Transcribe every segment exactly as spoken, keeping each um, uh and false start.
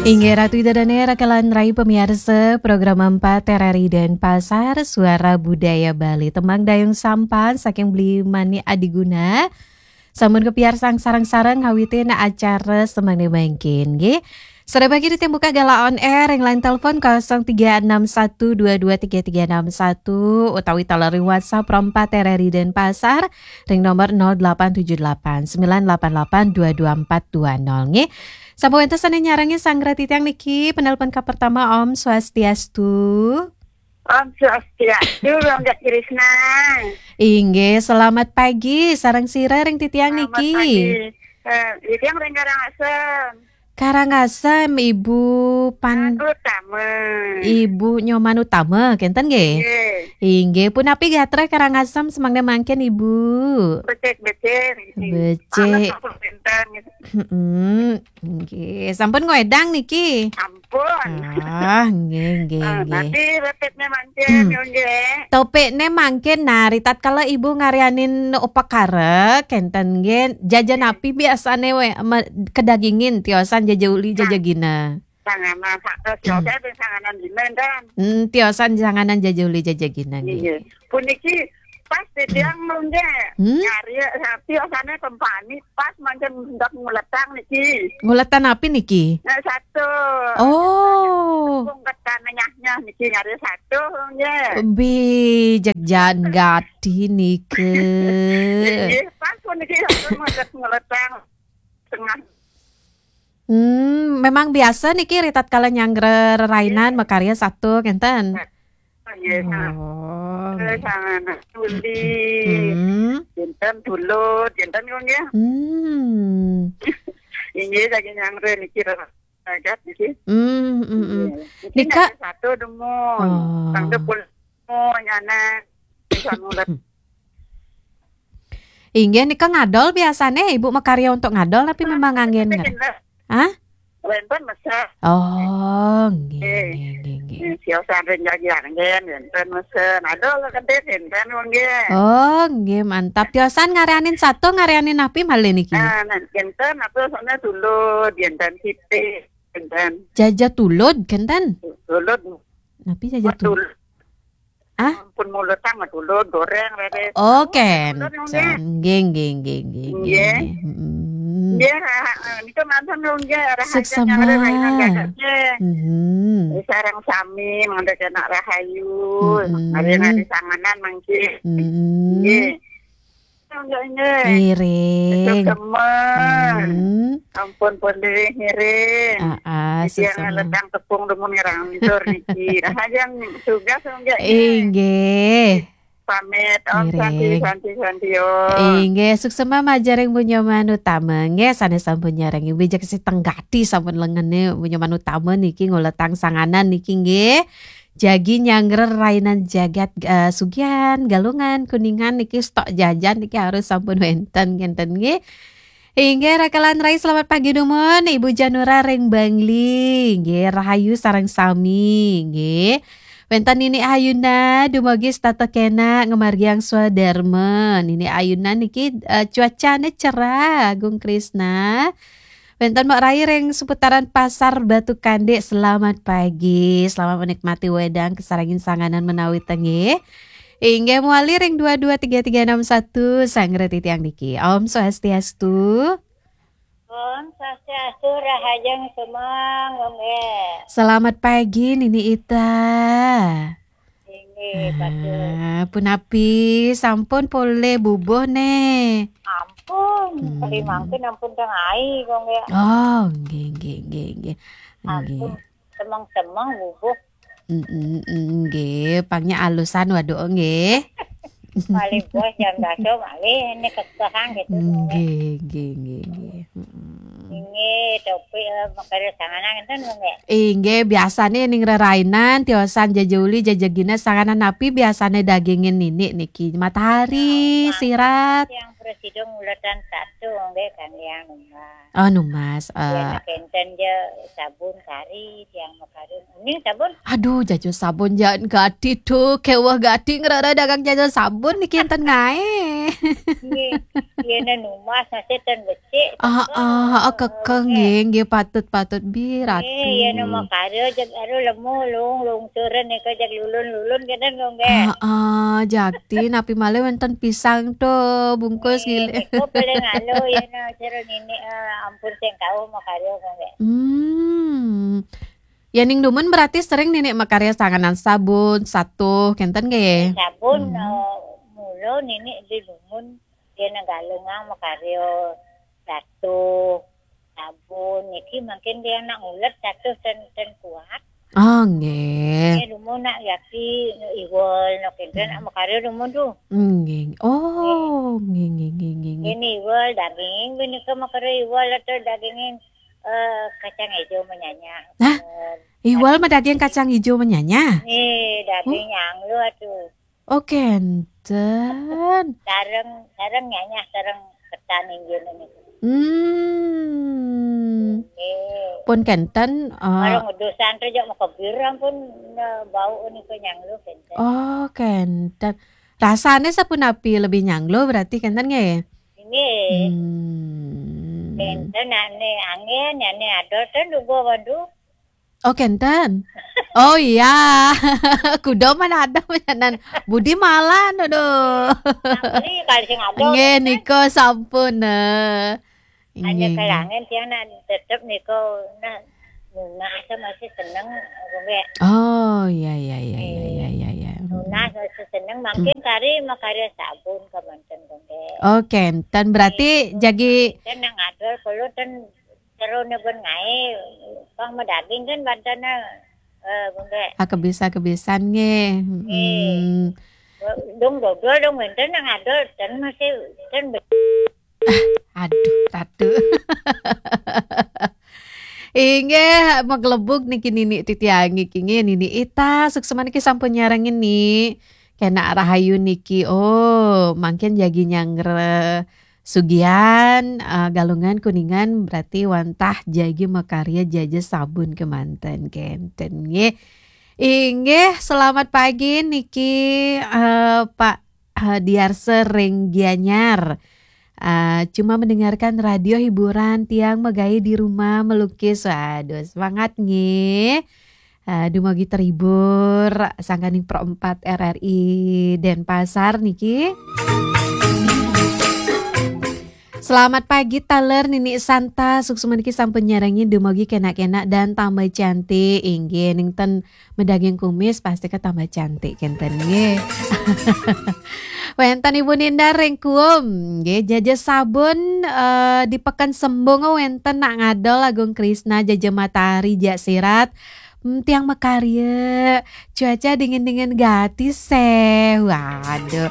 Inggih Ratu Ida Dane, rakalan rai pamiarsa program empat R R I Denpasar, Suara Budaya Bali. Tembang Dayung Sampan saking Beli Mani Adiguna. Sampun kapiarsang sareng-sareng ngawitin acara semangke mangkin, nggih. Sareng bagi ditembuka galah on air ring line telepon kosong tiga enam satu dua dua tiga tiga enam satu utawi taler ring WhatsApp Pro empat R R I Denpasar ring nomor nol delapan tujuh delapan sembilan delapan delapan dua dua empat dua nol, nggih. Sampun wenten sane nyarengin sanggra titiang niki, penelpon ka pertama, Om Swastiastu. Om Swastiastu, Rongga Krishna. Inggih, selamat pagi. Sareng sira ring titiang Selamat niki? Pagi. Eh, titiang ring Karangasem. Karangasem, Ibu Pan- Utama. Ibu Nyoman Utama, kenten nggih? Nggih. Inggih, punapi gatra Karangasem semangke mangkin, Ibu? Becik-becik. Becik. Panas apa bintang gitu. Mm-mm. Nggih, sampun ngwedang niki? Ampun. Ah, nggih, nggih, Ah, nggih. Nanti repetnya mangkin, Hmm. Nggih. Topikne mangkin, nah, ritatkala Ibu ngaryanin upakara, kenten nggih, jaja Nggih. Napi biasane we, me-, kedagingin, tiosan jaja uli, jaja Nah. Gina? Sanganan, sa-, eh, Hmm. Tiosan sanganan gina, kan? Hmm, tiosan sanganan jaja uli, jaja gina, nggih. Nggih. Puniki pas titiang nggih. Hmm? Nyari sapi osane tempani pas mangkin hendak nguletang niki. Nguletan api niki? Nah, satu. Oh. Tepung ketan nyah-nyah niki nyari satu nggih. Bijak jan gati niki. Nggih, pas puniki satu mangkin nguletang tengah. Hmm, memang biasa niki ritatkala nyanggra rerainan Nggih. Makarya satu kenten. Nggih, nah. Oh, eh, nggih. Sanganan uli. Hmm. Kenten tulud, kenten kok nggih. Hmm. Inggih, saking nyanggra niki ragat niki. Hmm, hmm, hmm. Nggih. Niki nika ada satu dumun. Oh. Tangga pul-, oh, nyana. Bisa ngulet. Inggih, nika ngadol biasane Ibu makarya untuk ngadol tapi memang anggen nggih? Hah? Wenten mesen. Oh, nggih, eh, nggih, nggih, nggih. Tiosan ring jaji anggen, wenten mesen. Adol kedis, wenten, nggih. Oh, nggih, mantap. Tiosan ngaryanin sato, ngaryanin napi malih niki? Ah, nah, wenten, apa sana tulud, wenten siti, wenten. Jaja tulud, kenten? Tulud. Napi jaja tulud? Ah? Pun mulutang tulud goreng, Rere. Oh, tulud, nggih. Nggih, nggih, nggih, nggih, nggih, nggih. Nggih. Mm-mm. Nggih, ra-, eh, nika mantun, nggih, rahayu. Suksema. Nyanggra rahayu, nggih. Mm-hmm. Eh, sareng sami, mangda kena rahayu. Mm-mm. Mari, mari sanganan, mangkin. Mm-mm. Nggih. Nggih, nggih. Ngiring. Suksema. Mm-hmm. Ampun, pun diri ngiring. Ah, ah, titiang suksema. Letang tepung dumun ngerang ndur niki. Rahayu tugas, nggih. Inggih. Pamit, Om Santi, ngiring. Santi, Santi, Om. Inggih, suksema majaring Bu Nyoman Utama. Nggih, sane sampun nyarengin bijak si tenggati sampun lengene Bu Nyoman Utama niki nguletang sanganan niki nggih. Jagi nyanggra rerainan jagat, eh, Sugihan, Galungan, Kuningan niki stok jajan niki harus sampun wenten, kenten nggih. Inggih, rakalan rai, selamat pagi dumun, Ibu Janura ring Bangli. Nggih, rahayu sareng sami, nggih. Wenten Nini Ayuna, dumugi setata kena ngamargiang swadarma. Nini Ayuna niki, eh, cuacane cerah, Gung Krisna. Wenten Mbok Rai ring seputaran Pasar Batu Kande, selamat pagi. Selamat menikmati wedang kasarengin sanganan menawi tengih. Inggih mawali ring dua dua tiga tiga enam satu, sanggra titiang niki. Om Swastiastu. Om Swastiastu, rahajeng semeng, nggih. Selamat pagi, Nini Ita. Inggih, patut. Ah, punapi, sampun polih bubuh, ne? Ampun, hmm. Kali mangkin ampun teng ai, kok, nggih. Oh, nggih, nggih, nggih, nggih. Ampun, nggih. Semeng-semeng bubuh. Mm, mm, mm, nggih, pangnya alusan waduh, nggih. Malih bos jam dasa malih ini kekehan gitu. Nggih, nggih, nggih, nggih. Mm. Inggih, tapi, eh, makare sanganan enten, nggih. Inggih, biasane ning rerainan, tiosan jaja uli, jaja gina, sanganan napi biasane dagingin nini niki? Matahari, ya, sirat. Yang presida nguletan satu, nggih, kan yang nunggal. Oh, numbas. Yén eh. Kénten ja sabun kari, tiang makarya. Uning sabun? Aduh, jaja sabun jaan gati tuh. Kéweh gati ngrereh dagang jaja sabun niki énten ngaé. Nggih. Yén numbas masih ten becik. Ah, ah, ah, kekeng nggih, nggih, patut, patut, Bi Ratu. Nggih, yén makarya jeg aduh lemu lung lungsuran nika jeg lulun-lulun kénten nggih. Ah, ah, jakti napi malih wénten pisang tuh bungkus nggih. Nggih, nika paling aluh yén cara nini, eh, ampun sing kauh makarya nggih. Hmm. Yéning dumun berarti sering nini makarya sanganan sabun, satuh, kénten nggih? Sabun, hmm, eh, mula nini di dumun, yén Galungan makarya satuh, sabun, niki mangkin tiang nak ngulet satuh ten, ten kuat. Oh, nggih. Nggih, dumun nak yaki, iwel, nak kénten, hmm, nak makarya dumun tuh. Nggih. Oh, nggih, nggih, nggih, nggih, nggih. Yén iwel daging, punika makarya iwel atau dagingin, eh, kacang hijau menyanyah. Hah? Eh, iwel madaging kacang hijau menyanyah? Nggih, daging nyanglu atuh. Oh, kénten. Sareng, sareng nyanyah, sareng ketan inggih niki. Hmm. Nggih. Pun kénten, eh, sareng udusan tuh jak makebir ampun, eh, bau nika nyanglu kénten. Oh, kénten. Rasané sapunapi, lebih nyanglu berarti kénten nggih? Nggih. Hmm. Kénten ané anggén, ané adol ten duga waduh. Oh, kénten. Oh iya. Kuda mana ada menyanan. Budi malan, aduh. Nggih, kali sing adol. Nggih, nika sampun, eh. Hanya nggih, nggih. Kelangan tiang nak tetep nika, nah, nunas masih seneng, nggih. Oh, iya, iya, iya, iya, iya, iya, iya. Nunas masih seneng, mangkin kari makarya sabun kamanten, nggih. Oh, kénten. Berarti jagi ten nang adol, kalau ten seru nebun ngaé, pang madaging kan bantanna, eh, nggih. Ah, kebisa-kebisan nggih. Nggih. Hmm. Dong dodol dong wénten nang adol, ten masih, ten be- Aduh, Ratu. Inggih, maglebug niki nini titiangé niki, nggih, nini Ita, suksma niki sampun nyarengin ni. Kénak rahayu niki. Oh, mangkin jagi nyanggra sugihan, eh, Galungan, Kuningan, berarti wantah jagi makarya jaja sabun kamanten kénten nggih. Inggih, selamat pagi niki, eh, Pak, eh, Diarse ring Gianyar. Eh, cuma mendengarkan radio hiburan, tiang magaé di rumah melukis. Waduh, semangat nggih. Eh, dumugi terhibur, sangkaning Pro empat R R I Denpasar niki. Selamat pagi taler Nini Santa, suksma niki sampun nyarengin, dumugi kénak-kénak dan tambah cantik. Inggih, ning ten madaging kumis pasti ka tambah cantik kénten nggih. Wénten Ibu Ninda ring Kuum, nggih, jaja sabun, eh, di Peken Sembung wénten nak ngadol Agung Krisna, jaja matahari jak sirat. Hmm, tiang makarya. Cuaca dingin-dingin gati sih. Waduh.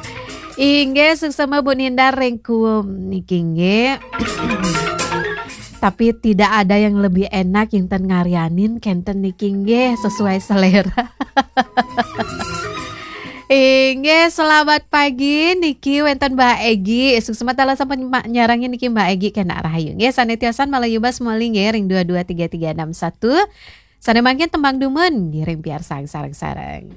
Inggih, suksma Bu Ninda ring Kuum niki nggih. Tapi tidak ada yang lebih enak yang ten ngaryanin kénten niki nggih, sesuai selera. Inggih, selamat pagi niki wénten Mbak Egi. Suksma taler sampun ma-, nyarengin niki Mbak Egi, kénak rahayu. Nggih, sané tiosan malih yubas malih nggih ring dua dua tiga tiga enam satu. Sané mangkin tembang dumun, ngiring piarsang sareng-sareng.